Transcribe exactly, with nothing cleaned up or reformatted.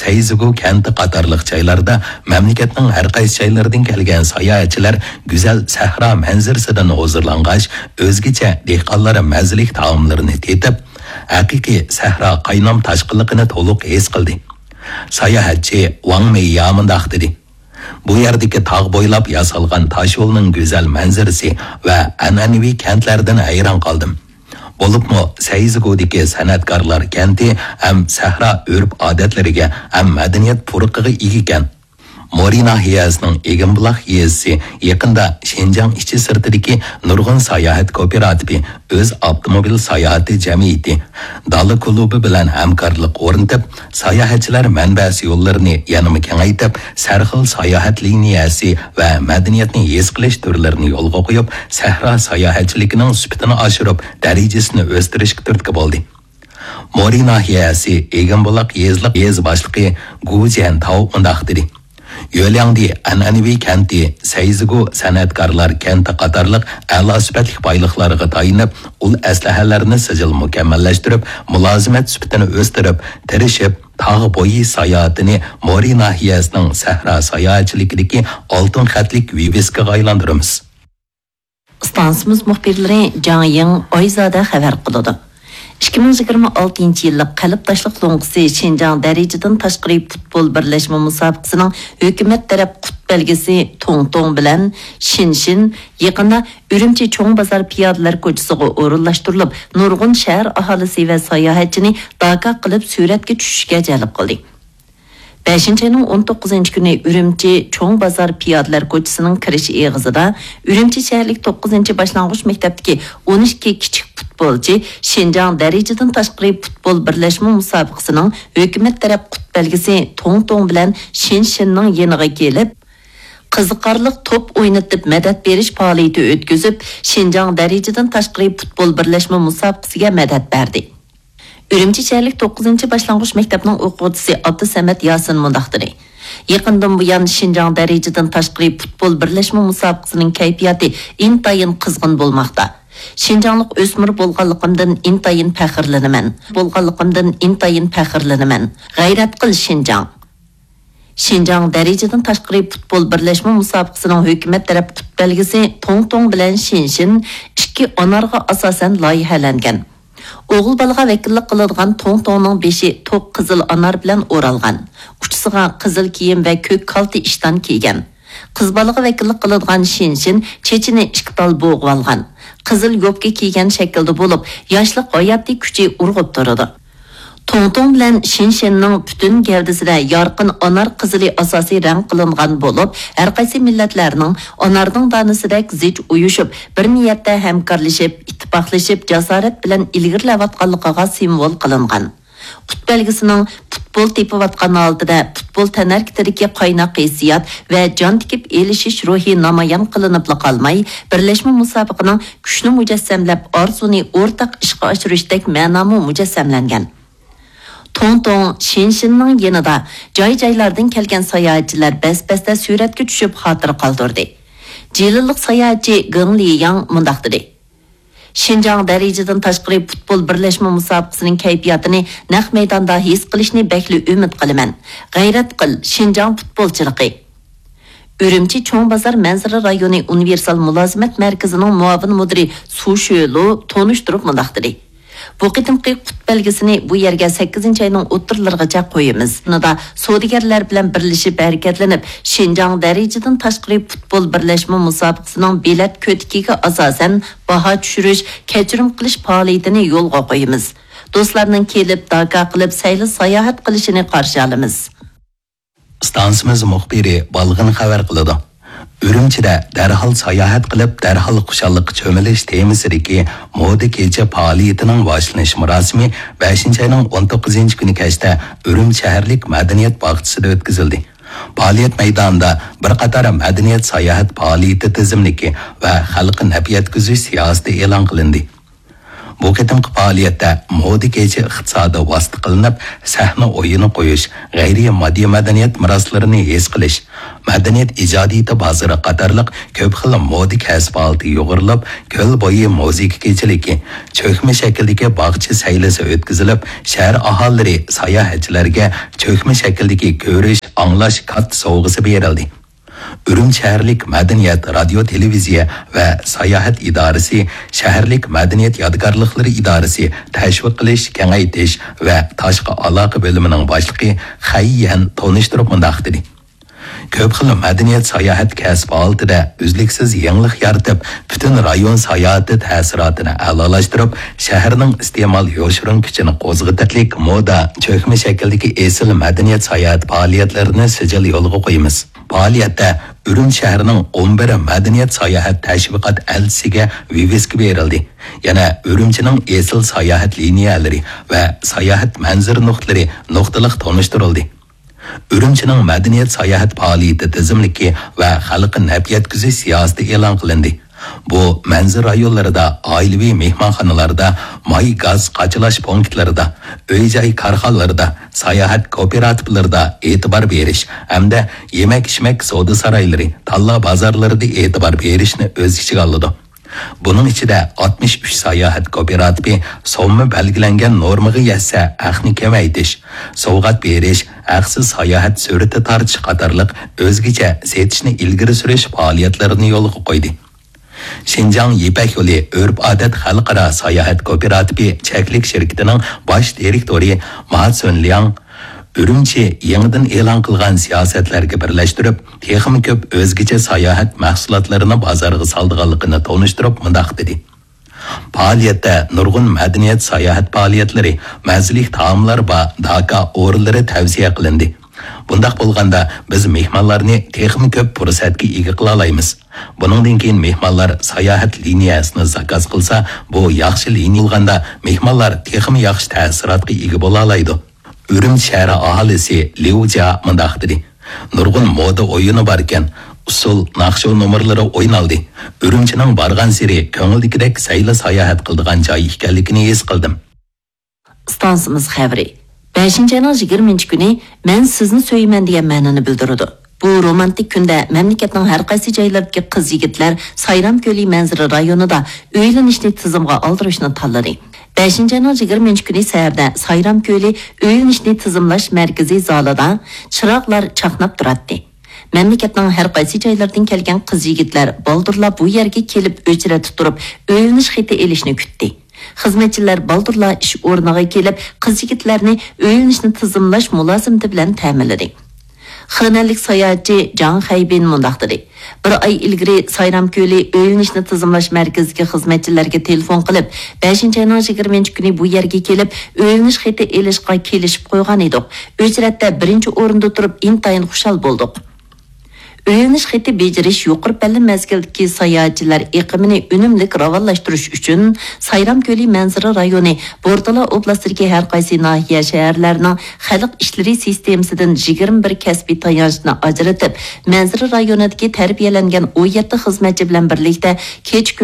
تەيزىگۇ كەنتى قاتارلىق جايلاردا مەملىكەتنىڭ ھەر قايسى جايلىرىدىن كەلگەن ساياھەتچىلەر گۈزەل سەھرا مەنزىرىسىدىن ھۇزۇرلانغاچ، ئۆزگىچە دېھقانلار مەززىلىك تائاملىرىنى تېتىپ، ھەقىقىي سەھرا قاينام تاشقىنلىقىنى تولۇق ھېس قىلدى. ساياھەتچى ۋاڭ مېييا مۇنداق دېدى: بۇ يەردىكى تاغ بويلاپ ياسالغان تاشيولنىڭ گۈزەل مەنزىرىسى ۋە ئەنئەنىۋى كەنتلەردىن ھەيران قالدىم. بولۇپمۇ سەيزىگۇدىكى سەنئەتكارلار كەنتى ھەم سەھرا ئۆرپ-ئادەتلىرىگە ھەم مەدەنىيەت پۇرىقىغا ئىگىكەن. مورى ناھىيەسىنىڭ ئېگىنبۇلاق يېزىسى يېقىندا شىنجاڭ ئىچى-سىرتىدىكى نۇرغۇن ساياھەت كوپىراتىپى ئۆز ئاپتوموبىل ساياھىتى جەمئىيىتى دالا كۇلۇبى بىلەن ھەمكارلىق ئورنىتىپ، ساياھەتچىلەر مەنبەسى يوللىرىنى يەنىمۇ كېڭەيتىپ، سەرخىل ساياھەت لىنىيەسى ۋە مەدەنىيەتنى ھېس قىلىش تۈرلىرىنى يولغا قويۇپ، سەھرا ساياھەتچىلىكىنىڭ سۈپىتىنى ئاشۇرۇپ، دەرىجىسىنى ئۆستۈرۈشكە تۈرتكە بولدى. مورى ناھىيەسى ئېگىنبۇلاق يېزىلىق يېزا باشلىقى گۇ جيەنتاۋ مۇنداق دېدى: يۆلياڭدى ئەنئەنىۋى كەنتى، سەيزىگۇ سەنئەتكارلار كەنتى قاتارلىق ئەلا سۈپەتلىك بايلىقلارغا تايىنىپ، ئۇل ئەسلىھەلەرنى سىجىل مۇكەممەللەشتۈرۈپ، مۇلازىمەت سۈپىتىنى ئۆستۈرۈپ، تىرىشىپ، تاغ بويى ساياھىتىنى مورى ناھىيەسىنىڭ سەھرا ساياھەتچىلىكىدىكى ئالتۇن خەتلىك ۋىۋىسكىغا ئايلاندۇرىمىز. ئىستانسىمىز مۇخبىرلىرى جاڭ يىڭ، ئايزادە خەۋەر قىلىدۇ. ئىككى مىڭ يىگىرمە ئالتىنچى يىللىق قەلب تاشلىق لوڭقىسى شىنجاڭ دەرىجىدىن تاشقىرى پۇتبول بىرلەشمە مۇسابىقىسىنىڭ ھۆكۈمەت تەرەپ قۇت بەلگىسى توڭ توڭ بىلەن شىن شىن يېقىندا ئۈرۈمچى چوڭ بازار پىيادىلەر كوچىسىغا ئورۇنلاشتۇرۇلۇپ، نۇرغۇن شەھەر ئاھالىسى ۋە ساياھەتچىنى داكا قىلىپ سۈرەتكە چۈشۈشكە جەلپ قىلدى. بەشىنچى ئاينىڭ ئون توققۇزىنچى كۈنى ئۈرۈمچى چوڭ بازار پىيادىلەر كوچىسىنىڭ كىرىش ئېغىزىدا ئۈرۈمچى شەھەرلىك توققۇزىنچى باشلانغۇچ مەكتەپتىكى ئون ئىككى كىچىك پۇتبولچى شىنجاڭ دەرىجىدىن تاشقىرى پۇتبول بىرلەشمە مۇسابىقىسىنىڭ ھۆكۈمەت تەرەپ قۇت بەلگىسى توڭ توڭ بىلەن شىن شىننىڭ يېنىغا كېلىپ، قىزىقارلىق توپ ئوينىتىپ مەدەت بېرىش پائالىيىتى ئۆتكۈزۈپ، شىنجاڭ دەرىجىدىن تاشقىرى پۇتبول بىرلەشمە مۇسابىقىسىگە مەدەت بەردى. ئۈرۈمچى شەھەرلىك توققۇزىنچى باشلانغۇچ مەكتەپنىڭ ئوقۇغۇچىسى ئابدۇسەمەت ياسىن مۇنداق دېدى: يېقىندىن بۇيان شىنجاڭ دەرىجىدىن تاشقىرى پۇتبول بىرلەشمە مۇسابىقىسىنىڭ كەيپىياتى ئىنتايىن قىزغىن بولماقتا. شىنجاڭلىق ئۆسمۈر بولغانلىقىمدىن ئىنتايىن پەخىرلىنىمەن. بولغانلىقىمدىن ئىنتايىن پەخىرلىنىمەن. غەيرەت قىل، شىنجاڭ! شىنجاڭ دەرىجىدىن تاشقىرى پۇتبول بىرلەشمە مۇسابىقىسىنىڭ ھۆكۈمەت تەرەپ قۇت بەلگىسى توڭ توڭ بىلەن شىن شىن ئىككى ئانارغا ئاساسەن لايىھەلەنگەن. ئوغۇل بالىغا ۋەكىللىك قىلىدىغان توڭ توڭنىڭ بېشى توق قىزىل ئانار بىلەن ئورالغان. ئۇچىسىغا قىزىل كىيىم ۋە كۆك كالتە ئىشتان كىيگەن. قىز بالىغا ۋەكىللىك قىلىدىغان شىن شىن چېچىنى ئىككى تال بوغۇۋالغان. قىزىل يوپكا كىيگەن شەكىلدە بولۇپ، ياشلىق ھاياتىي كۈچى ئۇرغۇپ تۇرىدۇ. توڭ توڭ بىلەن شىن شىننىڭ پۈتۈن گەۋدىسىدە يارقىن ئانار قىزىلى ئاساسىي رەڭ قىلىنغان بولۇپ، ھەرقايسى مىللەتلەرنىڭ ئانارنىڭ دانىسىدەك زىچ ئۇيۇشۇپ، بىر نىيەتتە ھەمكارلىشىپ، ئىتتىپاقلىشىپ، جاسارەت بىلەن ئىلگىرىلەۋاتقانلىقىغا سىمۋول قىلىنغان. قۇت بەلگىسىنىڭ پۇتبول تېپىۋاتقان ھالىتىدە پۇتبول تەنھەرىكىتىدىكى قايناق ھېسسىيات ۋە جان تىكىپ ئېلىشىش روھى نامايان قىلىنىپلا قالماي، بىرلەشمە مۇسابىقىنىڭ كۈچنى مۇجەسسەملەپ، ئارزۇنى ئورتاق ئىشقا ئاشۇرۇشتەك مەنامۇ مۇجەسسەملەنگەن. توڭ توڭ شىن شىننىڭ يېنىدا جاي-جايلاردىن كەلگەن ساياھەتچىلەر بەس-بەستە سۈرەتكە چۈشۈپ خاتىرە قالدۇردى. جىلىنلىق ساياھەتچى گېڭ لىياڭ مۇنداق دېدى: شىنجاڭ دەرىجىدىن تاشقىرى پۇتبول بىرلەشمە مۇسابىقىسىنىڭ كەيپىياتىنى نەق مەيداندا ھېس قىلىشنى بەكلا ئۈمىد قىلىمەن. غەيرەت قىل، شىنجاڭ پۇتبولچىلىقى! ئۈرۈمچى چوڭ بازار مەنزىرە رايونى ئۇنىۋېرسال مۇلازىمەت مەركىزىنىڭ مۇئاۋىن مۇدىرى سۇ شۆلۇ تونۇشتۇرۇپ مۇنداق دېدى: بۇ قېتىمقى قۇت بەلگىسىنى بۇ يەرگە سەككىزىنچى ئاينىڭ ئوتتۇرىلىرىغىچە قويىمىز. يېقىندا سودىگەرلەر بىلەن بىرلىشىپ ھەرىكەتلىنىپ، شىنجاڭ دەرىجىدىن تاشقىرى پۇتبول بىرلەشمە مۇسابىقىسىنىڭ بېلەت كۆتىكىگە ئاساسەن باھا چۈشۈرۈش، كەچۈرۈم قىلىش پائالىيىتىنى يولغا قويىمىز. دوستلارنىڭ كېلىپ، داكا قىلىپ، سەيلە ساياھەت قىلىشىنى قارشى ئالىمىز. ئىستانسىمىز مۇخبىرى بالغىن خەۋەر قىلىدۇ. ئۈرۈمچىدە دەرھال ساياھەت قىلىپ، دەرھال خۇشاللىققا چۆمۈلۈش تېمىسىدىكى مودا كېچە پائالىيىتىنىڭ باشلىنىش مۇراسىمى بەشىنچى ئاينىڭ ئون توققۇزىنچى كۈنى كەچتە ئۈرۈمچى شەھەرلىك مەدەنىيەت باغچىسىدا ئۆتكۈزۈلدى. پائالىيەت مەيدانىدا بىر قاتار مەدەنىيەت ساياھەت پائالىيىتى تىزىملىكى ۋە خەلققە نەپ يەتكۈزۈش سىياسىتى ئېلان قىلىندى. بۇ قېتىمقى پائالىيەتتە مودا كېچە ئىقتىسادى ۋاسىتە قىلىنىپ، سەھنە ئويۇنى قويۇش، غەيرىي ماددىي مەدەنىيەت مىراسلىرىنى ھېس قىلىش، مەدەنىيەت ئىجادىيىتى بازىرى قاتارلىق كۆپ خىل مودا كەسىپ ھالىتى يۇغۇرۇلۇپ، كۆل بويى مۇزىكا كېچىلىكى، چۆكمە شەكىلدىكى باغچە سەيلىسى ئۆتكۈزۈلۈپ، شەھەر ئاھالىلىرى ساياھەتچىلەرگە چۆكمە شەكىلدىكى كۆرۈش، ئاڭلاش كارتا سوۋغىسى بېرىلدى. ئۈرۈمچى شەھەرلىك مەدەنىيەت، رادىيو، تېلېۋىزىيە ۋە ساياھەت ئىدارىسى شەھەرلىك مەدەنىيەت يادىكارلىقلىرى ئىدارىسى تەشۋىق قىلىش، كېڭەيتىش ۋە تاشقى ئالاقە بۆلۈمىنىڭ باشلىقى خەي يەن تونۇشتۇرۇپ مۇنداق دېدى: كۆپ خىل مەدەنىيەت ساياھەت كەسپى ھالىتىدە ئۈزلۈكسىز يېڭىلىق يارىتىپ، پۈتۈن رايون ساياھىتى تەسىراتىنى ئەلالاشتۇرۇپ، شەھەرنىڭ ئىستېمال يوشۇرۇن كۈچىنى قوزغىتىدىلىك مودا، چۆكمە شەكىلدىكى ئېسىل مەدەنىيەت ساياھەت پائالىيەتلىرىنى سىجىل يولغا قويىمىز. پائالىيەتتە ئۈرۈمچى شەھىرىنىڭ ئون بىر مەدەنىيەت ساياھەت تەشۋىقات ئەلچىسىگە ۋىۋىسكا بېرىلدى. يەنە ئۈرۈمچىنىڭ ئېسىل ساياھەت لىنىيەلىرى ۋە ساياھەت مەنزىرە نۇقتىلىرى نۇقتىلىق تونۇشتۇرۇلدى. ئۈرۈمچىنىڭ مەدەنىيەت ساياھەت پائالىيىتى تىزىملىكى ۋە خەلققە نەپ يەتكۈزۈش سىياسىتى ئېلان قىلىندى. بۇ مەنزىرە رايونلىرىدا، ئائىلىۋى مېھمانخانىلاردا، ماي گاز قاچىلاش پونكىتلىرىدا، ئۆي-جاي كارخانىلىرىدا، ساياھەت كوپىراتىپلىرىدا ئېتىبار بېرىش ھەمدە يېمەك-ئىچمەك سودا سارايلىرى، تاللا بازارلىرىدا ئېتىبار بېرىشنى ئۆز ئىچىگە ئالىدۇ. بۇنىڭ ئىچىدە ئاتمىش ئۈچ ساياھەت كوپىراتىپى سومما بەلگىلەنگەن نورمىغا يەتسە ھەقنى كېمەيتىش، سوۋغات بېرىش، ھەقسىز ساياھەت سۈرىتى تارتىش قاتارلىق ئۆزگىچە سېتىشنى ئىلگىرى سۈرۈش پائالىيەتلىرىنى يولغا قويدى. شىنجاڭ يىپەك يولى ئۆرپ-ئادەت خەلقئارا ساياھەت كوپىراتىپى چەكلىك شىركىتىنىڭ باش دىرېكتورى ما سۈنلياڭ ئۈرۈمچى يېڭىدىن ئېلان قىلغان سىياسەتلەرگە بىرلەشتۈرۈپ، تېخىمۇ كۆپ ئۆزگىچە ساياھەت مەھسۇلاتلىرىنى بازارغا سالىدىغانلىقىنى تونۇشتۇرۇپ مۇنداق دېدى: پائالىيەتتە نۇرغۇن مەدەنىيەت ساياھەت پائالىيەتلىرى، مەززىلىك تائاملار بار داكا ئورۇنلىرى تەۋسىيە قىلىندى. بۇنداق بولغاندا بىز مېھمانلارنى تېخىمۇ كۆپ پۇرسەتكە ئىگە قىلالايمىز. بۇنىڭدىن كېيىن مېھمانلار ساياھەت لىنىيەسىنى زاكاز قىلسا، بۇ ياخشى لىنىيە بولغاندا مېھمانلار تېخىمۇ ياخشى تەسىراتقا ئىگە بولالايدۇ. ئۈرۈمچى شەھىرى ئاھالىسى ليۇ جيا مۇنداق دېدى: نۇرغۇن مودا ئويۇنى باركەن، ئۇسسۇل، ناخشا نومۇرلىرى ئوينالدى. ئۈرۈمچىنىڭ بارغانسېرى كۆڭۈلدىكىدەك سەيلە ساياھەت قىلىدىغان جاي ئىكەنلىكىنى ھېس قىلدىم. ئىستانسىمىز خەۋىرى. بەشىنچى ئاينىڭ يىگىرمىنچى كۈنى مەن سىزنى سۆيىمەن دېگەن مەنىنى بىلدۈرىدۇ. بۇ رومانتىك كۈندە مەملىكەتنىڭ ھەر قايسى جايلىرىدىكى قىز-يىگىتلەر سايرام كۆلى مەنزىرە رايونىدا ئۆيلىنىشنى تىزىمغا ئالدۇرۇشنى تاللىدى. بەشىنچى ئاينىڭ يىگىرمىنچى كۈنى سەھەردە سايرام كۆلى ئۆيلىنىشنى تىزىملاش مەركىزى زالىدا چىراغلار چاقناپ تۇراتتى. مەملىكەتنىڭ ھەر قايسى جايلىرىدىن كەلگەن قىز-يىگىتلەر بالدۇرلا بۇ يەرگە كېلىپ ئۆچرەتتە تۇرۇپ ئۆيلىنىش خېتى ئېلىشنى كۈتتى. خىزمەتچىلەر بالدۇرلا ئىش ئورنىغا كېلىپ، قىز-يىگىتلەرنى ئۆيلىنىشنى تىزىملاش مۇلازىمىتى بىلەن تەمىنلىدى. خېنەنلىك ساياھەتچى جاڭ خەيبىن مۇنداق دېدى: بىر ئاي ئىلگىرى سايرام كۆلى ئۆيلىنىشنى تىزىملاش مەركىزىدىكى خىزمەتچىلەرگە تېلېفون قىلىپ، بەشىنچى ئاينىڭ يىگىرمىنچى كۈنى بۇ يەرگە كېلىپ، ئۆيلىنىش خېتى ئېلىشقا كېلىشىپ قويغان ئىدۇق. ئۆچرەتتە بىرىنچى ئورۇندا تۇرۇپ، ئىنتايىن خۇشال بولدۇق. ئۆيلىنىش خېتى بېجىرىش يۇقىرى پەللە مەزگىلدىكى ساياھەتچىلەر ئېقىمىنى ئۈنۈملۈك راۋانلاشتۇرۇش ئۈچۈن، سايرام كۆلى مەنزىرە رايونى بورتالا ئوبلاستىدىكى ھەر قايسى ناھىيە، شەھەرلەرنىڭ خەلق ئىشلىرى سىستېمىسىدىن يىگىرمە بىر كەسپىي تايانچنى ئاجرىتىپ، مەنزىرە رايونىدىكى تەربىيەلەنگەن ئون يەتتە خىزمەتچى بىلەن بىرلىكتە كېچە-كۈن